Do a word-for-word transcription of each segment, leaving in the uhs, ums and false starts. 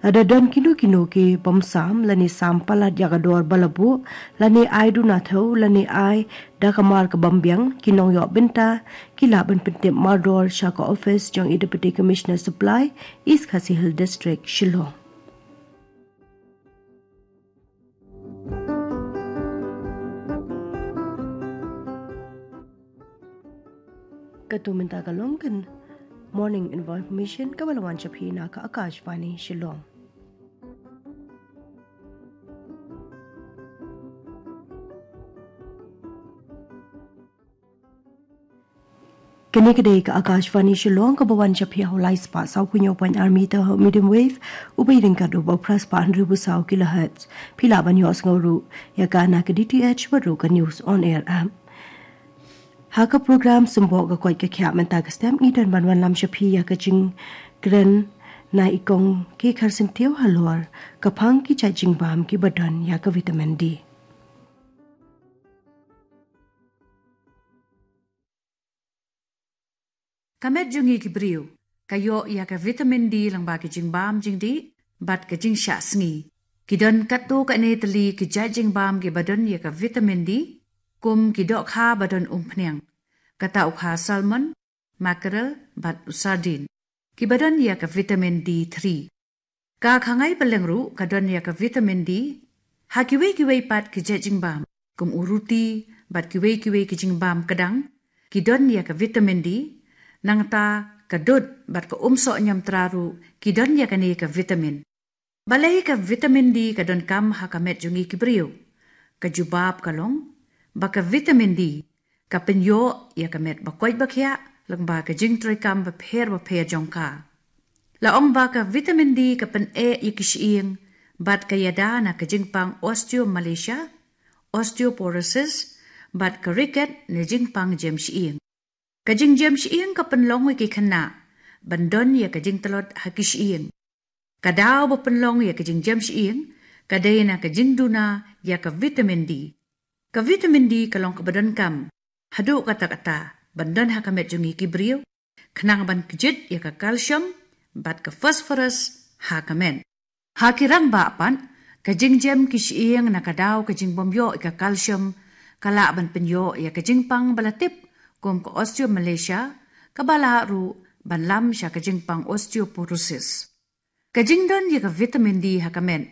Lada don kino kino ki bym sam lane sam palat ïa ka dor ba la buh, lane ai duna thew lane ai da ka mar ka bym biang, ki nongïoh bynta ki lah ban pyntip mardor sha ka office jong i Deputy Commissioner Supply, East Khasi Hills District, Shillong. Katto mynta ka long ka Morning Information kaba la wan sha phi na ka Akashvani Shillong. Kane ka dei ka Akashvani Shillong kaba wan sha phi ha u lai spah saw phew hynñiew point ar meter ha u medium wave, uba ïadei bad u ba phra spah hynriew phew saw kilohertz. Phi lah ban ïohsngew ruh ïa ka na ka D T H bad ruh ka News on Air app. Ha ka program Symboh ka koit ka khiah mynta ka step ngi don ban wanlam sha phi ïa ka jingkren na i Kong K. Kharsyntiew halor ka phang ki jait jingbam kiba don ïa ka vitamin D. Ka met jong ngi ki briew ka ïoh ïa ka vitamin D lyngba ki jingbam jingdih bad ka jingshah sngi. Ki don katto katne tylli ki jait jingbam kiba don ïa ka vitamin D, kum ki dohkha ba don umphniang, kata u kha salmon, mackerel bad u sardine, kiba don ïa ka vitamin D three. Ka khangai pylleng ruh ka don ïa ka vitamin D. Ha kiwei kiwei pat ki jait jingbam, kum u ruti bad kiwei kiwei ki jingbam kdang, ki don ïa ka vitamin D. Nangta ka dud bad ka umsoh niamtra ruh ki don ïa kane ka vitamin. Balei ka vitamin D ka donkam ha ka met jong ngi ki briew? Ka jubab ka long ba ka vitamin D ka pynïoh ïa ka met ba koit ba khiah lyngba ka jingtrei kam bapher bapher jong ka. La ong ba ka vitamin D ka pyneh ïa ki shyieng bad ka ïada na ka jingpang osteomalacia, osteoporosis, bad ka ricket ne jingpang jem shyieng. Ka jingjem shyieng ka pynlong ïa ki khynnah ban don ïa ka jingtlot ha ki shyieng. Ka daw ba pynlong ïa ka jingjem shyieng ka dei na ka jingduna ïa ka vitamin D. Ka vitamin D ka long kaba donkam haduh katta katta ban don ha ka met jong ngi ki briew, khnang ban kjit ïa ka calcium bad ka phosphorus ha ka met. Ha ki rangbah pat, ka jingjem ki shyieng na ka daw ka jingbym ïoh ïa ka calcium ka lah ban pynïoh ïa ka jingpang ba la tip kum ka osteomalacia, kaba lah ruh ban lam sha ka jingpang osteoporosis. Ka jingdon ïa ka vitamin D ha ka met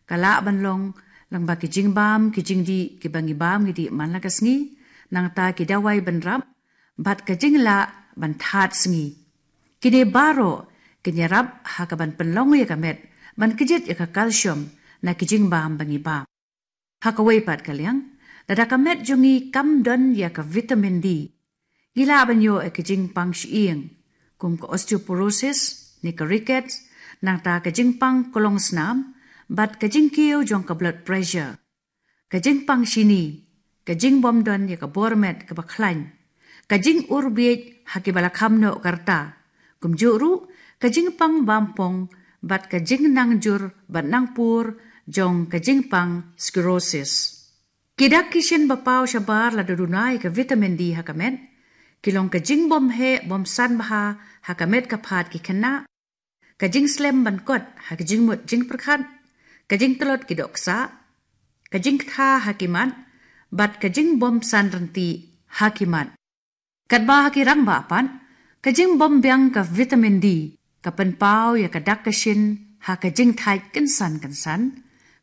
ka lah ban long lyngba ki jingbam ki jingdih kiba ngi bam ngi dih man la ka sngi, nangta ki dawai ban rap bad ka jinglah ban thad sngi. Kine baroh kin ïarap ha kaban pynlong ïa ka met ban kjit ïa ka calcium na ki jingbam ba ngi bam. Ha kawei pat ka liang, lada ka met jong ngi kam don ïa ka vitamin D, ngi lah ban ïoh ïa ka jingpang shyieng, kum ka osteoporosis ne ka rickets, nangta ka jingpang klongsnam bad ka jingkiew jong ka blood pressure. Ka jingpang shini, ka jingbym don ïa ka bor met kaba khlaiñ, ka jingurbiej ha kiba la kham noh ka rta, kumjuh ruh ka jingpang bampong bad ka jingnangjur bad nangpur jong ka jingpang sclerosis. Ki dak ki shin ba paw shabar lada duna ïa ka vitamin D ha ka met ki long ka jingbym heh bym san bha ha ka met ka phad ki khynnah, ka jingslem ban kot ha ka jingmut jingpyrkhat, ka jingtlot ki doh ksah, ka jingktha ha ki mat bad ka jingbym san rynti ha ki mat. Katba ha ki rangbah pat, ka jingbym biang ka vitamin D ka pynpaw ïa ka dak ka shin ha ka jingthait kynsan kynsan,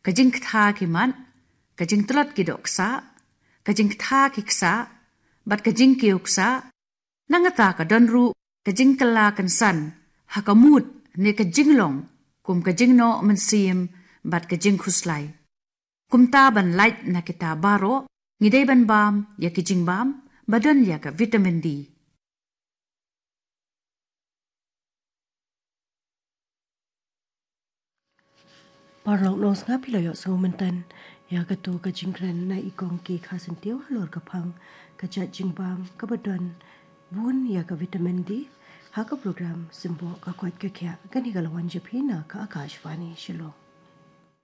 ka jingktha ki mat, ka jingtlot ki doh ksah, ka jingktha ki ksah bad ka jingkiew ksah. Nangta ka don ruh ka jingkylla kynsan ha ka mut ne ka jinglong, kum ka jingnoh mynsiem bad ka jingkhuslai. Kumta ban lait na kita baroh, ngi dei ban bam ïa ki jingbam ba don ïa ka vitamin D. Paralok nong sngap, phi la ïohsngew mynta ïa katto ka jingkren na i Kong K. Kharsyntiew halor ka phang ka jait jingbam kaba don bun ïa ka vitamin D ha ka program Symboh ka koit ka khiah, kane ka la wan sha phi na ka Akashvani Shillong.